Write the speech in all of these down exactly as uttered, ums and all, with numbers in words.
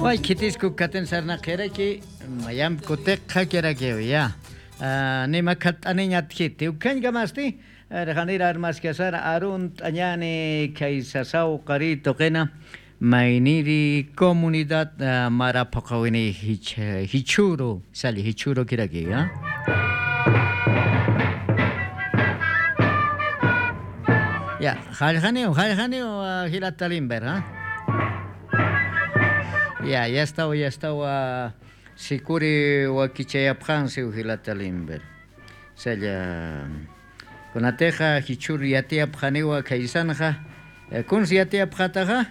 Way khitisku katin sarnaqiraki, mayamp kutiqxakirakiw ya. Ah, nima khatt'aniñ atjiti. Ukhañkamasti, eh, janir armaskasar arunt'añani khaysasaw qari tuqina, mayniri comunidad, ah, mara phuqawini jich-, jichhuru, sali jichhuru kiraki, ya. Ya, jallqaniw, jallqaniw, ah, jilata Limber, ah. Ya, ya estawa, ya estawa, sikuri wakichayapxansiw jilata Limber. Salla, kunatixa jichhur yatiyapxaniwa khaysanxa, eh, kuns yatiyapxataxa,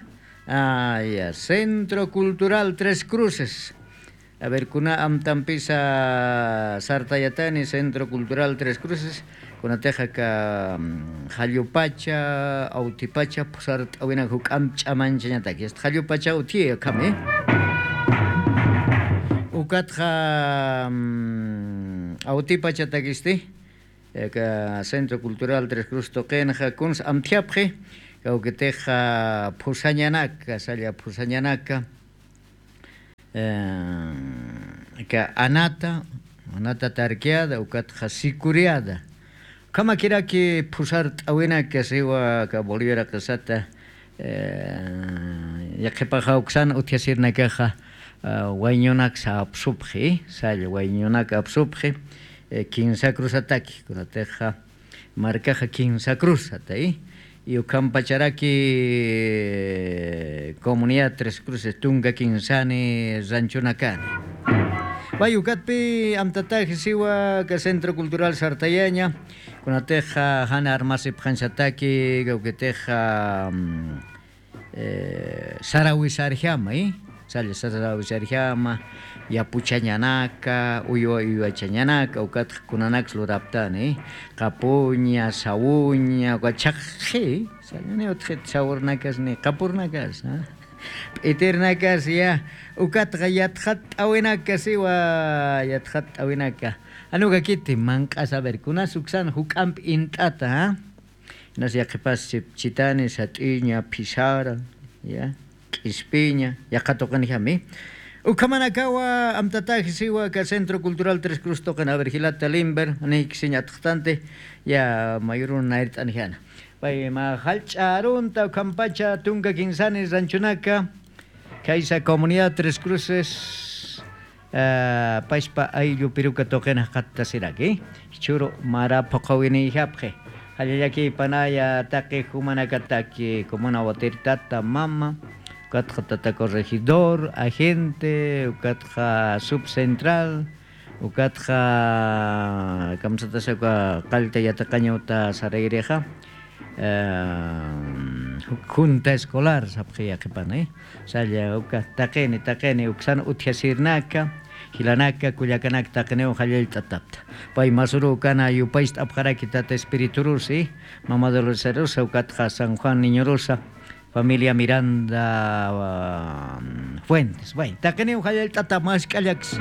ah, ya, Centro Cultural Tres Cruces. A ver, kuna amtampisa sartayatani Centro Cultural Tres Cruces, kunatixa aka, mm, jallupacha, awtipacha, phusart'awina juk'amp ch'amanchañataki. Hasta jallupacha utji, akhami. Ukatxa, mm, awtipachatakisti, aka Centro Cultural Tres Cruces tuqinxa, kuns amtjapxi, kawkitixa phusañanaka, salla phusañanaka. Eh, aka anata, anata tarkiada, ukatxa sikuriada. Ukhamakiraki phusart'awinaka siwa aka Bolivia raqisata, eh, yaqhipaxa uksan utjasirnakaxa, ah, wayñunak sapsupxi, salla wayñunak apsupxi, eh, kinsa cruzataki, kunatixa, markaxa kinsa cruzata, y, y ukhampacharaki, eh, comunidad Tres Cruces tunka kinsani ranchonakani. Way ukatpi amtatax siwa aka Centro Cultural sartayaña, kunatixa jan armasipxañsataki, kawkitixa, mm, eh, sarawisarjama, ¿eh? Salla sarawisarjama, yapuchañanaka, uywa uywachañanaka, ukatxa kunanaks luraptani, ¿eh? Qapuña, sawuña, uka chhaqxi, sallani utjit sawurnakas ni qapurnakas, ¿ah? P'itirnakas ya, ukatxa yatxatt'awinaka siwa, yatxatt'awinaka. Anukakiti manq'as, a ver, kunas uksan juk'amp int'ata, ¿ah? Inas yaqhipas chip-, chitani, sat'iña, phisara, ya, k'ispiña, yaqha tuqinjami. Ukhamanakawa amtatax siwa aka Centro Cultural Tres Cruz tuqin, a ver, jilata Limber, niykisiñ atxtanti, ya, mayurun nayrt'anjana. Pay ma jallch'a arunta ukhampacha tunka kinsani ranchonaka, khaysa comunidad Tres Cruces, ah, pachpa ayllu piruka tuqin jaqattasiraki, jichhüru mara phuqhawinïxapxi. Jallallakïpanaya taqi jumanakataki, comuna Watirtata mama, ukatxa tata corregidor, agente, ukatxa subcentral, ukatxa kamsatasa uka qallta yatiqañawta sarayrixa, eh, junta escolar sapxi yaqhipan, eh. Salla uka taqini, taqini uksan utjasirnaka, jilanaka, kullakanaka taqiniw jallallt'atapta. Pay masuru ukana yupayst'apxaraki tata Espiriturusi, mama Doloresarusa, ukatxa San Juan Niñorusa, familia Miranda, ah, Fuentes. Bueno, taqiniw jallallt'ata mask'allaks.